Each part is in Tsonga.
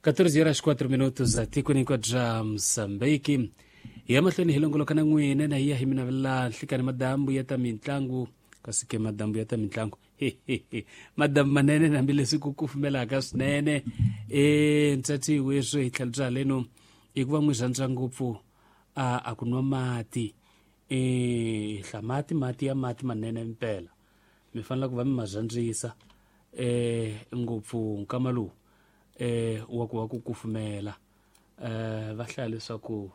14 horas 4 minutos atikweni hinkwabyo bya Mozambique. Hi ya mahlweni hi longoloka na n'wina na hi ya hi mi navelela nhlikani madambu ya ta mitlangu, kasi ke madambu ya ta mitlangu madambu manene hambileswi ku kufumelaka swinene. Ntsati weswo hi tlhelo bya haleno i ku va n'wi rhandza ngopfu a ku nwa mati, hla mati mati ya mati manene mpela mi fanele ku va mi ma rhandzisa ngopfu nkama lowu wa ku va ku kufumela. Va hlaya leswaku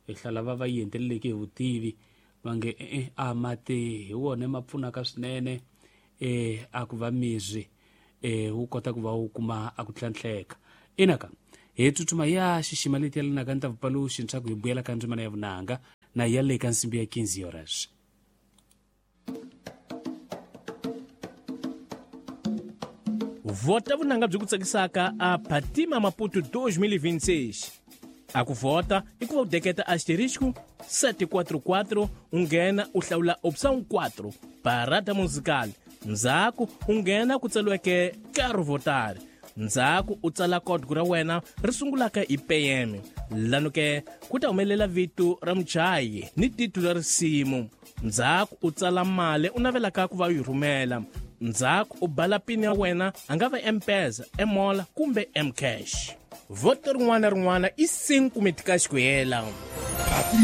hi hlala va va yenteleleke hi vutivi va nge a mati hi wona ma pfunaka swinene a ku va miri wu kota ku va wu kuma a ku tlhantlheka. Inaka hi tsutsuma ya xixima leti yelanaka ni ta vupaluxi leswaku hi vuyela ka ndzimana ya vunanga na ya le ka nsimbi ya 15 horas. Vhota vunanga byi ku tsakisaka a Phatima Maputo 2026. A ku vhota i ku va u deketa asterisco 744 u nghena u hlawula option 4 parada musical, ndzhaku u nghena ku tsariweke Caro Votar, ndzhaku u tsala código ra wena ri sungulaka hi PM, lano ke ku ta humelela vito ra muchayi ni titulu ra risimu, ndzhaku u tsala mali u navelaka ku va u yi rhumela, ndzhaku u bala pini ya wena, a nga va M-Pesa, M-Mola kumbe M-Cash. Voto rin'wana na rin'wana i 5 meticais ku hela.